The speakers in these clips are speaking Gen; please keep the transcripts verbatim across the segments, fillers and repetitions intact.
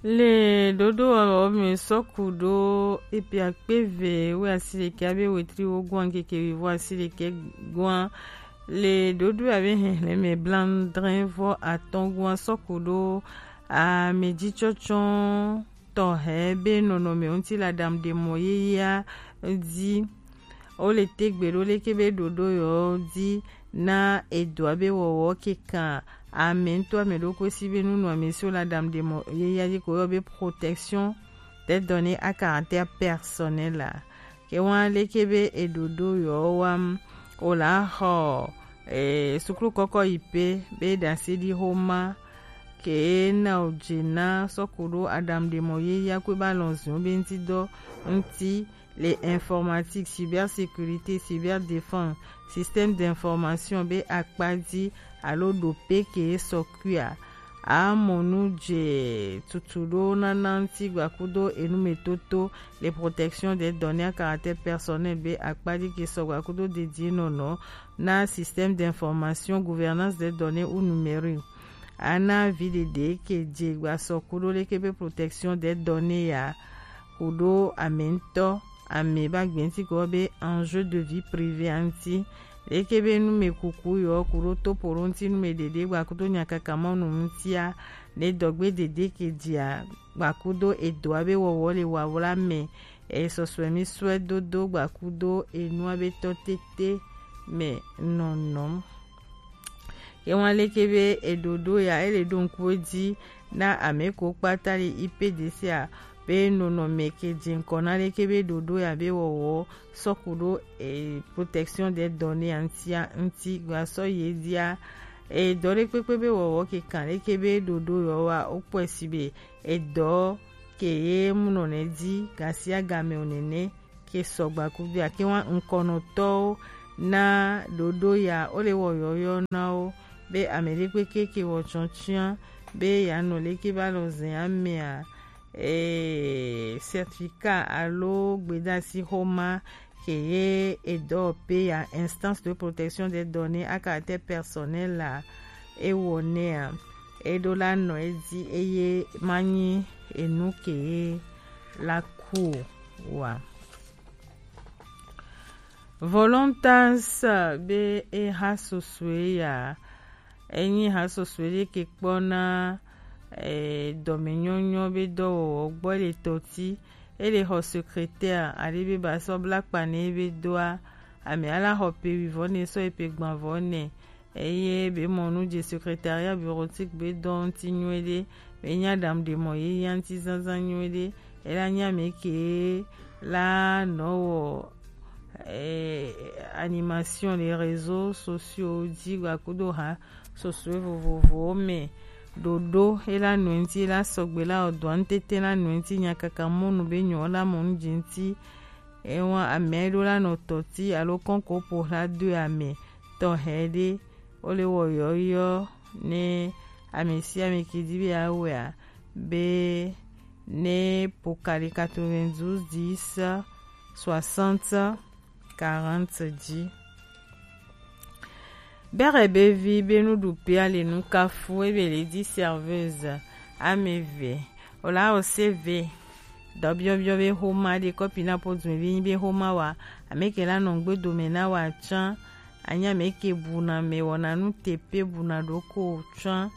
Le ɖoɖo ɔme sɔku ɖo epiakpe ve we asi ɖekɛ abe wetri wo gɔn keke wivo asi ɖekɛ gɔn. Le ɖoɖo abe hɛhlɛmɛ blandrɛ vɔ atɔn gɔn sɔku ɖo amedzitsɔtsɔ tɔhɛ be nɔnɔme ŋuti la dam ɖe mɔ yeyea di. Wo le te gbe ɖo leke be ɖoɖo yɔ di na edoa be wɔwɔ kekan ame ŋutɔ ame ɖokui si be nunu ame siwo la dam ɖe mɔ yeyea di ko yɔ be protection des données à caractère personnel la. Ke wa leke be eɖoɖo yɔ wam o la xɔ e suklu kɔkɔ yi pe be ɖase ɖi xoma ke na o dze na sɔku ɖo adam ɖe mɔ yeyea kue ba lɔn zion be ŋuti dɔ ŋuti le informatique, cybersécurité, cyberdéfense, système d'information be akpa dzi alo ɖo pe ke sɔkuia. Amɔ nu dze tutu ɖo nana ŋuti gbakudo enumetoto le protection des données à caractère personnel be akpa dzi ke sɔ gbakudo dedie nɔnɔ na système d'information, gouvernance des données ou numérique. Ana vi ɖeɖe ke dze gbasɔ kuɖo leke be protection des données ya kuɖo ame ŋutɔ ame ba gbe ŋuti ko be enjeu de vie privée ŋuti leke be numekuku yɔ kuɖo topoɖo ŋuti numeɖeɖe gbakudo nyakaka mɔnu ŋutia ne dɔgbe ɖeɖe ke dzia gbakudo edoa be wɔwɔ le wawla me e sɔsɔe mi sɔe dodo gbakudo enua be tɔ tete me nɔnɔ. Ke wan leke be eɖoɖo ya ele ɖo ŋku dzi na ame ko kpata le I P D C a be nɔnɔme ke dze ŋkɔ na leke be ɖoɖo ya be wɔwɔ sɔku ɖo e protection des données ŋutia ŋuti gbasɔ ye dia e dɔ ɖe kpekpe be wɔwɔ ke kan leke be ɖoɖo yɔ wa wo kpɔe si be edɔ ke ye munɔ ne dzi gasi agame o nene ke sɔgba kudo ake wa ŋkɔnɔtɔwo na ɖoɖo ya wo le wɔ yɔyɔ na wo be ame ɖe kpekpe ke wɔ tsɔtsiã be ya nɔ leke ba lɔ zɛ amea ee certificat alo gbedasi xɔma ke ye edɔ pe ya instance de protection des données à caractère personnel la ewɔ nɛa eɖo la nɔ edzi eye manyi enu ke ye la ku o wa. Volontas be eha sosoe ya enyi ha sosoe ɖe ke kpɔ na eh, dɔmenyɔnyɔ be dɔwɔwɔ gbɔ le tɔti ele xɔ secrétaire aɖe be ba sɔ bla kpa ne be doa ame ala xɔ pe wivɔ ne sɔ epe gbanvɔ ne eye be mɔnu dze secrétariat bureautique be dɔ ŋuti nyuie ɖe be nya ɖam ɖe mɔ ye ya ŋuti zazã nyuie ɖe ela nya me ke la nɔ wɔ eh, animation les réseaux sociaux dzi gbakudo ha sosoe vovovowo me ɖoɖo ela nɔ ŋuti ela sɔgbe la ɔdɔ ŋutete la nɔ ŋuti nyakaka mɔnu be nyɔ la mɔ nu dzi ŋuti ewa ame ɖo la nɔ tɔti alo kɔnko ƒo la do ame tɔxɛ ɖe wole wɔ yɔyɔ ne ame sia ame ke di be awea be ne pokali quatre-vingt-douze dix soixante quarante dzi. Bere be vi be nuɖuƒea le nu kafu ebe le di serveuse ame eve o la o se ve dɔ biɔbiɔ be xoma ɖe kɔpi na po dun be nyi be xoma wa ame ke la nɔ ŋgbe dome na wa tsã anya ame ke buna me wɔna nu tepe buna ɖoko tsã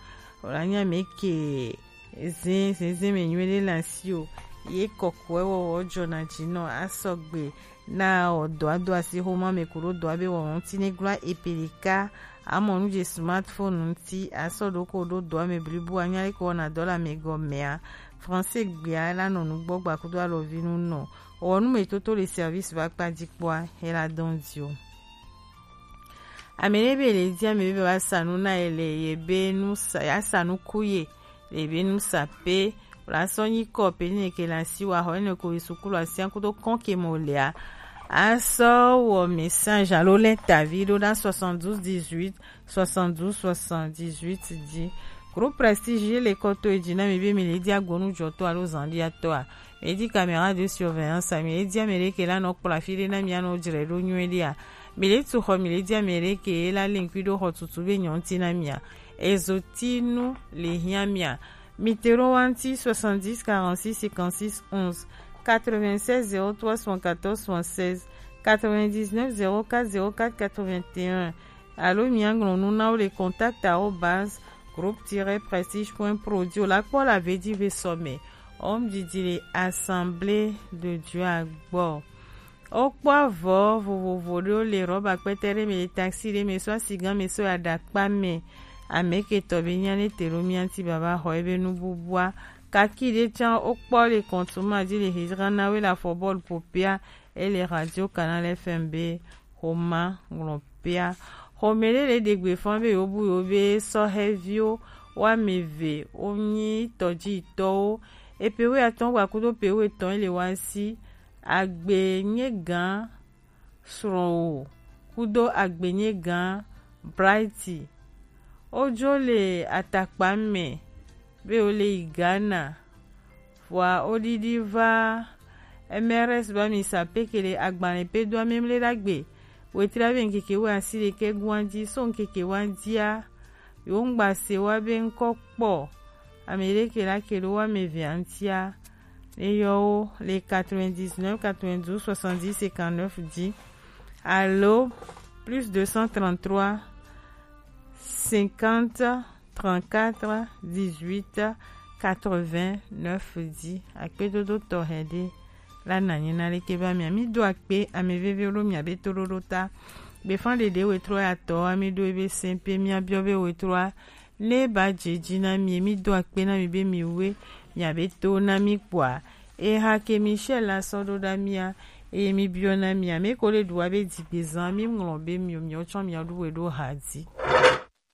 o la nya ame ke zin zinzin me nyuie ɖe le asi o ye kɔkɔe wɔwɔ dzɔna dzi nɔ asɔgbe na ɔdɔa do asi xoma me ku ɖo dɔa be wɔwɔ ŋuti ne glɔa epelika amɔ nu dze smartphone ŋuti asɔ ɖo ko ɖo dɔa me blibu anya leke wɔna dɔ le ame gɔmea français gbea la nɔ nugbɔ gbakudo alɔvi nu nɔ wɔ nu me toto le service ba kpa dzi kpɔa hela dɔn di o. Ame ɖe be le di ame be ba sa nu na ye le ye be nu sa ya sa nu ku ye le be nu sa pe la sɔ nyi kɔ pe ne ke la si wa xɔ ne ko sukulu asia kudo kɔn ke mo lea asɔ wɔ message alo lɛtavi ɖo na soixante-douze dix-huit soixante-douze soixante-dix-huit di. Groupe Prestige ye le kɔ to edzi na mi be mi le di agbonu dzɔtɔ alo zandiatɔa mi le di caméra de surveillance mi le di ame ɖe ke la nɔ kplɔ afi ɖe na mi anɔ dzre ɖo nyuie ɖea mi le tu xɔ mi le di ame ɖe ke la le ŋkui ɖo xɔ tutu be nyɔ ŋuti na mia ezo ti nu le hiã mia Mitero wanti soixante-dix quarante-six cinquante-six onze, quatre-vingt-seize zéro trois soixante-quatorze soixante-seize, quatre-vingt-dix-neuf zéro quatre zéro quatre quatre-vingt-un. Alo mianglɔnu na wo le contact arobase groupe tiret prestige point pro di o la kpɔ la vedi ve sɔmɛ. Om didi le Assemblée de Dieu agbɔ. Wokpɔ avɔ vovovo ɖewo le rɔba kpɛtɛ ɖe me, le taxi ɖe me, sɔ asigan me, sɔ aɖakpa me. Amɛketɔ be nya ne te ɖo mía ŋuti baba xɔ ebe nububua. Kaki ɖe tsã wokpɔ le kɔntuma dzi le hejra na we le afɔbɔlu ƒoƒea, ele Radio Canal F M be xoma ŋlɔ pea. Xɔme ɖe le ɖe gbe fã be yewo bu yewo be sɔhɛviwo woame eve wonyi tɔdzitɔwo. Epe wuiatɔ̃ gba kudo pe wuietɔ̃ ele wa si. Agbenye gã srɔ̃wò kudo Agbenye gã Brighty. Wodzo le atakpa me be wole yi Ghana. Vɔa woɖiɖi va M R S ba mi sa pekele agbalẽ pe do amemle ɖagbe. Wetra be ŋkeke wuiasiɖe ke gua dzi so ŋkeke wa dzia. Yewo ŋgba se wa be ŋkɔ kpɔ. Ame ɖe ke la ke ɖo wa me via ŋutia. Ne yɔ wo le quatre-vingt-dix-neuf quatre-vingt-douze soixante-dix cinquante-neuf dix alo plus deux cent trente-trois cinquante trente-quatre dix-huit quatre-vingt-neuf dix. Akpedodo tɔxɛ ɖe la nanyi na leke ba mia. Mi do akpe ame veve ɖo mia be to ɖoɖo ta. Gbefan ɖeɖe wetrɔ ya tɔ ami ɖo ebe sɛn pe mia biɔ be wetrɔa ne ba dze dzi na mi, mi do akpe na mi be mi we mia be to na mi kpɔa. Eha ke Michel la sɔ ɖo ɖa mia, eye mi biɔ na mia, mi ko le ɖu wa be dzigbezã, mi ŋlɔ be mi, mi tsɔ mia ɖu we ɖo ha dzi.